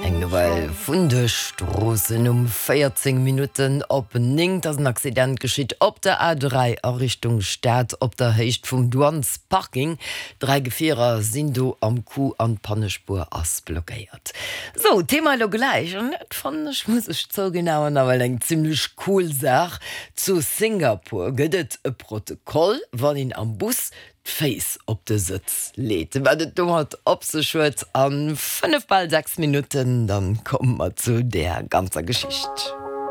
Eng Nouvelle vun de Stroossen, Um 14 Minutten op 9 ass en Accident geschitt op der A3 a Richtung Stad op der Héicht vum Douanesparking. 3 Gefierer sinn do am Coup an d'Pannespuer ass blockéiert. Sou, Thema elo gläich, an dat fannen ech, muss ech zouginn, awer nawell eng zimmlech cool Saach. Zu Singapur gëtt et e Protokoll, wann een am Bus d'Féiss op de Sëtz leet. Wat et domat op sech huet, a 5 bal 6 Minutten, dann komme mer zu där ganzer Geschicht.